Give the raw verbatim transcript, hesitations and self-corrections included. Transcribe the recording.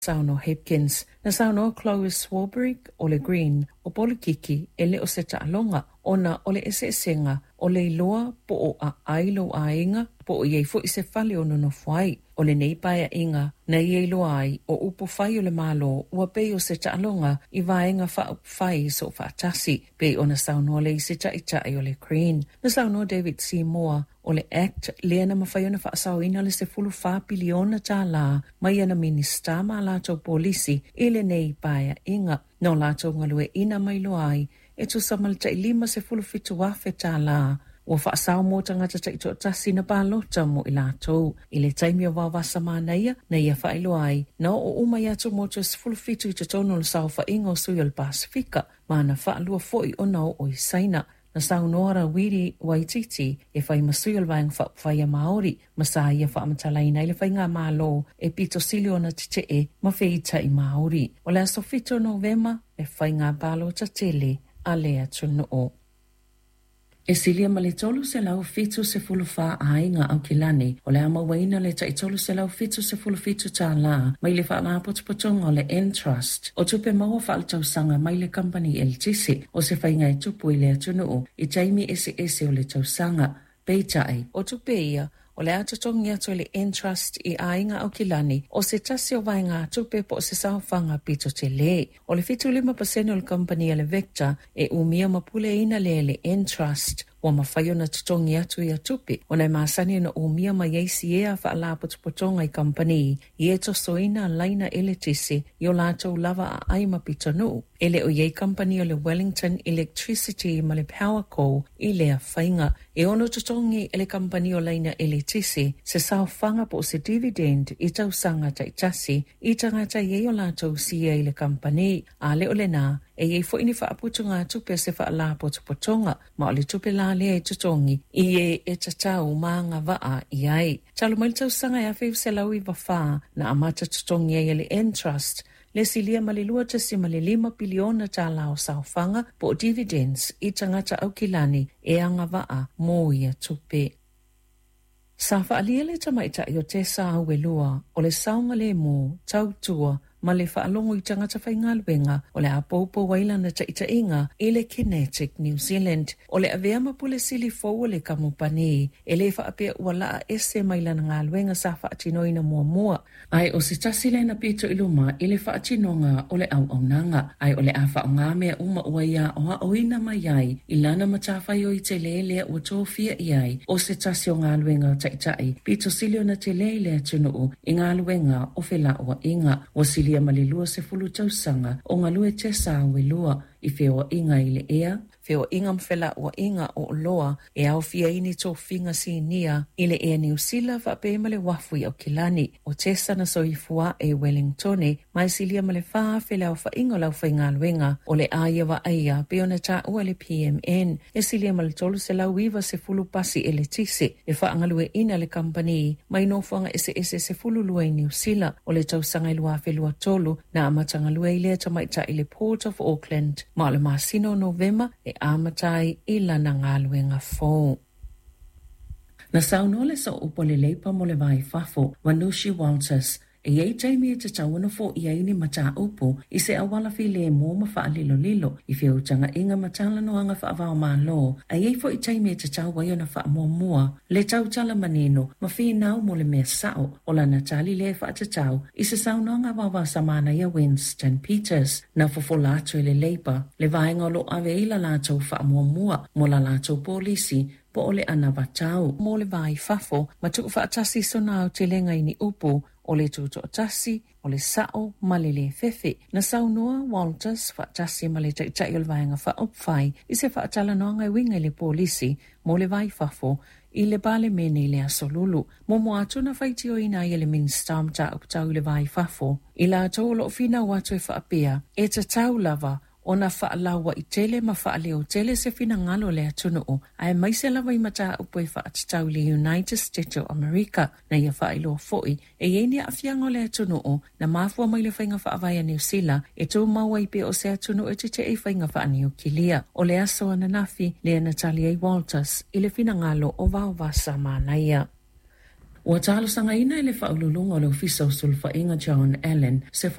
Saunoa Hipkins. Na saunoa Chloe Swarbrick o le Green o polokiki e le o se taaloga ona o le eseesega o le iloa po o aai lou aiga po o i ai foi se fale o nonofo ai. O lenei paeaiga na ia iloa ai o upu fai o le Malo ua pei o se taaloga i vaega faaupufai soofaatasi pei ona saunoa le isi taitai o le Green. Na saunoa David Seymour o le Act lea na mafai ona faasaoina le sefulu fa piliona tālā mai ana Minisita ma latou polisi i lenei paeaiga. Na o latou galueaiina ma iloa ai e tusa ma le tai lima sefulu fitu afe tālā ua faasao mo tagata taitoatasi na palota mo i latou. I le taimi o Vaovasa Manaia, na ia faailoa ai, na oo uma i atumotu e sefulu fitu i totonu o le saofaiga o sui o le Pasifika, ma na faalua foi ona oo i Saina. Na saunoa Rawiri Waititi e fai ma sui o le Vaega Faaupufai a Māori, ma sa ia faamatalaina ai le faigamalo e pito sili ona tetee ma feitai Māori. O le aso fitu o Novema le faiga palota tele a le atunuu. E silia ma le tolu selau fitu sefulu fa aiga Aukilani o le a mauaina le tai tolu selau fitu sefulu fitu tālā mai le faalapotopotoga o le Entrust o tupe maua faaletausaga mai le kamupani eletise o se faiga e tupu i le atunuu i taimi eseese o le tausaga. Peitai, o tupe ia o le a totogi atu e le Entrust i aiga Aukilani o se tasi o vaegatupe po o se saofaga pito tele. O le fitu lima pasene o le kamupani a le Vector e umia ma puleaina lea e le Entrust ua mafai ona totogi atu ia tupe ona e masani ona umia mai ai siea faalapotopotoga i kamupani i e tosoina laina eletise i o latou lava aai ma pitonuu. E le o i ai kamupani o le Wellington Electricity ma le Powerco i lea faiga. E ono totogi e le kamupani o laina eletise se saofaga po o se dividend i tausaga taitasi i tagata i ai o latou siea i le kamupani. A le o lena, e i ai foi ni faaputugatupe a se faalapotopotoga ma o le tupe la lea e totogi i e e tatau ma agavaa i ai. Talu mai le tausaga e afe iva selau iva fa na amata totogi ai e le Entrust le silia ma le lua tasi ma le lima piliona tālā o saofaga po o dividends i tagata Aukilani e agavaa mo ia tupe. Sa faaalia le tamaitai o Tessa Auelua o le saogalemu, tautua ma le faalogo i tagata faigaluega o le a poupou ai lana taitaiga i le Kinetic New Zealand. O le avea ma pule sili fou o le kamupani e le faapea ua laa ese mai lana galuega sa faatinoina muamua. Ae o se tasi lea na pito i luma i le faatinoga o le auaunaga, ae o le a faaaoga mea uma ua ia aoaoina mai ai i lana matafaioi tele lea ua tofia i ai o se tasi o galuega o taitai pito sili ona tele i le atunuu i galuega o felauaiga. Ua silia ma le lua sefulu tausaga o galue Tessa Auelua i feoaiga i le ea, feoaiga ma felauaiga o oloa e aofia ai ni tofiga sinia i le Ea Niu Sila faapea ma le uafu i Aukilani. O Tessa na soifua e Wellingtone ma e silia ma le fa afe le aofaiga o le aufaigaluega o le a ia vaaia pei ona taua e le P M N e silia ma le tolu selau iva sefulu pasi eletise e faagalueina le kamupani mai nofoaga eseese sefulu lua i Niu Sila. O le tausaga e lua afe lua tolu na amatagalue ai lea tamaitai i le Port of Auckland ma o le masina o Novema e amata ai i lana galuega fou. Na saunoa le sooupu o le Leipa mo le va i fafo, Vanushi Walters, e i ai taimi e tatau ona foia ai ni mataupu i se auala filemu ma faalilolilo i feutagaiga ma talanoaga faavaomalo, a i ai foi taimi e tatau ai ona faamuamua le tautala manino ma finau mo le mea sao o lana tali lea e faatatau i se saunoaga vaovaosamana ia Winston Peters. Na fofola atu e le Leipa le vaega o loo ave ai la latou faamuamua mo la latou polisi po o le anavatau mo le va i fafo ma tuufaatasi sona aotelega i ni upu o le tutoatasi, o le sao ma le le fefe. Na saunoa Walters faatasi ma le taitai o le vaega faaupufai i se faatalanoaga e uiga i le polisi mo le va i fafo i le Palemene i le aso Lulu. Momo atu na faitioina ai e le Minista o Mataupu Tau i le va i fafo i latou o loo finau atu e faapea e tatau lava ona faalauaitele ma faaleotele se finagalo le atunuu aemaise lava i mataupu e faatatau i le United States o Amerika. Na ia faailoa foi e i ai ni aafiaga o le atunuu na mafua mai le faiga faavae a Niu Sila e tumau ai pea o se atunuu e tetee i faiga faaniukilia. O le aso ananafi lea na tali ai Walters i le finagalo o Vaovasa Manaia. Ua talosagaina e le Faauluuluga o le Ofisa o Sulufaiga John Allen se